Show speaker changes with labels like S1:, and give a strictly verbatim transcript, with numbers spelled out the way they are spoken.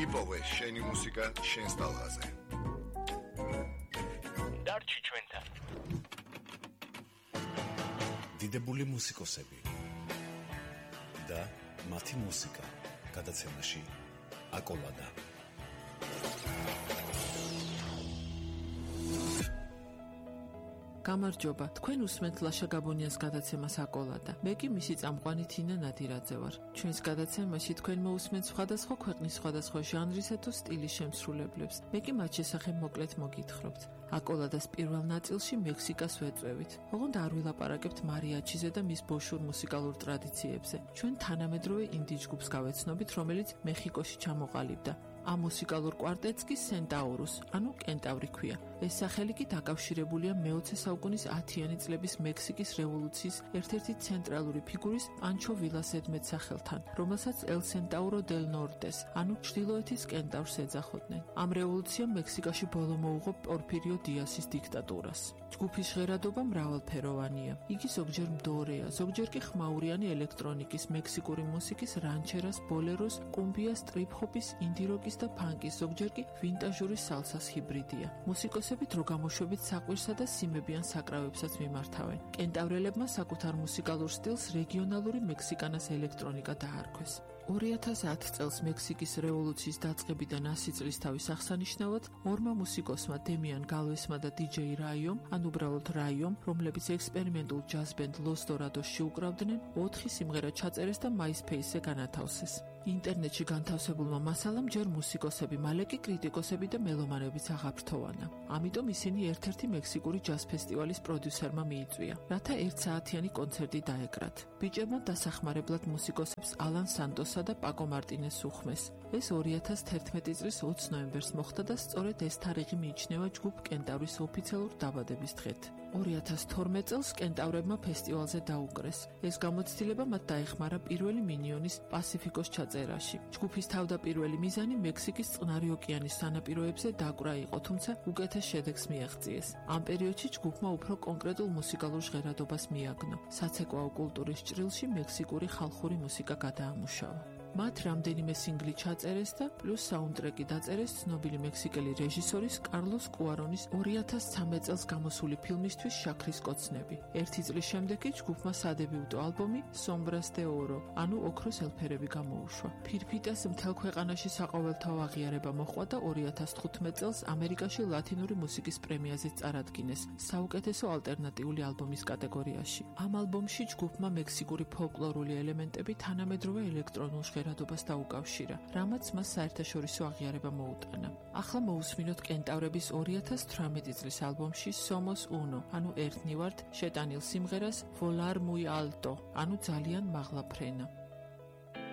S1: იპოვე შენი მუსიკა შენს ტალღაზე.
S2: დარჩი ჩვენთან.
S3: დიდებული მუსიკოსები და მათი მუსიკა გადაცემაში აკოლადა.
S4: გამარჯობა, თქვენ უსმენთ ლაშა გაბონიას გადაცემას აკოლადა. მე კი მისი წამყვანი თინა ნადირაძე ვარ. ჩვენს გადაცემაში თქვენ მოусმენთ სხვადასხვა ქვეყნის სხვადასხვა ჟანრისა თუ სტილის შემსრულებლებს. მე კი მათ შესახებ მოკლედ მოგითხრობთ. აკოლადას პირველ ნაწილში მექსიკას ვეწვევით. ოღონდ არ ვილაპარაკებთ მარიაჩიზე და მის ბოშურ მუსიკალურ ტრადიციებზე. ჩვენ თანამედროვე ინდი ჯგუფს გავეცნობით, რომელიც მეხიკოში ჩამოყალიბდა. ამ მუსიკალურ კვარტეტს კი სენტაურუს, ანუ კენტავრი ქვია. ეს სახელი კი დაკავშირებულია მეოცე საუკუნის ათიანი წლების მექსიკის რევოლუციის ერთ-ერთი ცენტრალური ფიგურის პანჩო ვილას ზედმეტსახელთან, რომელსაც ელ სენტაურო დელ ნორტეს, ანუ ჩრდილოეთის კენტავრს ეძახოდნენ. ამ რევოლუციამ მექსიკაში ბოლო მოუღო პორფირიო დიასის დიქტატურას. ჯგუფის ჟღერადობა მრავალფეროვანია. იგი ზოგჯერ მდორეა, ზოგჯერ კი ხმაურიანი ელექტრონიკის, მექსიკური მუსიკის, რანჩერას, ბოლეროს, კუმბიას, ტრიპ-ჰოპის, ინდი-როკის და ფანკის, ზოგჯერ კი ვინტაჟური სალსას ჰიბრიდია. მუსიკოსები დრო გამოშვებით საყვირსა და სიმებიან საკრავებსაც მიმართავენ. კენტავრელებმა საკუთარ მუსიკალურ სტილს რეგიონალური მექსიკანას ელექტრონიკა დაარქვეს. ორი ათას ათ წელს მექსიკის რევოლუციის დაწყებიდან ასი წლისთავის აღსანიშნავად ორმა მუსიკოსმა დემიან გალვესმა და დიჯეი რაიომ, ან უბრალოდ რაიომ, რომლებიც ექსპერიმენტულ ჯაზ ბენდ ლოს დორადოსში უკრავდნენ, ოთხი სიმღერა ჩაწერეს და MySpace-ზე განათავსეს. ინტერნეტში განთავსებულმა მასალამ ჯერ მუსიკოსები, მალე კი კრიტიკოსები და მელომანებიც აღაფრთოვანა. ამიტომ ისინი ერთ-ერთი მექსიკური ჯაზ ფესტივალის პროდიუსერმა მიიწვია, რათა ერთსაათიანი კონცერტი დაეკრათ. ბიჭებმა დასახმარებლად მუსიკოსებს ალან სანტოსა და პაკო მარტინეს უხმეს. ეს ორი ათას თერთმეტი წლის ოცი ნოემბერს მოხდა და სწორედ ეს თარიღი მიიჩნევა ჯგუფ კენტავრის ოფიციალურ დაბადების დღედ. ორი ათას თორმეტ წელს კენტავრებმა ფესტივალზე დაუკრეს. ეს გამოცდილება მათ დაეხმარა პირველი მინიონის პასიფიკოს წერაში. ჯგუფის თავდაპირველი მიზანი მექსიკის წყნარი ოკეანის სანაპიროებზე დაკვრა იყო, თუმცა უკეთეს შედეგს მიაღწიეს. ამ პერიოდში ჯგუფმა უფრო კონკრეტულ მუსიკალურ ჟღერადობას მიაგნო. საცეკვაო კულტურის ჭრილში მექსიკური ხალხური მუსიკა გადაამუშავა. მათ რამდენიმე სინგლი ჩაწერეს და პლუს საუნდტრეკი დაწერეს ცნობილი მექსიკელი რეჟისორის კარლოს კუარონის ორი ათას ცხრამეტ წელს გამოსული ფილმისთვის შაქრის კოცნები. ერთი წლის შემდეგ კი ჯგუფმა სადებიუტო ალბომი სომბრას დე ორო, ანუ ოქროს ელფერები გამოუშვა. ფირფიტას მთელ ქვეყანაში საყოველთაო აღიარება მოჰყვა და ორი ათას თხუთმეტ წელს ამერიკაში ლათინური მუსიკის პრემიაზეც წარადგინეს საუკეთესო ალტერნატიული ალბომის კატეგორიაში. ამ ალბომში ჯგუფმა მექსიკური ფოლკლორული ელემენტები თანამედროვე ელექტრონულ ჟღერადობას დაუკავშირა, რამაც მას საერთაშორისო აღიარება მოუტანა. ახლა მოусმინოთ კენტავრების ორი ათას თვრამეტი წლის ალბომში Somos Uno, ანუ ერთნი ვართ, შეტანილ სიმღერას Volar Muy Alto, ანუ ძალიან მაღლა ფრენა.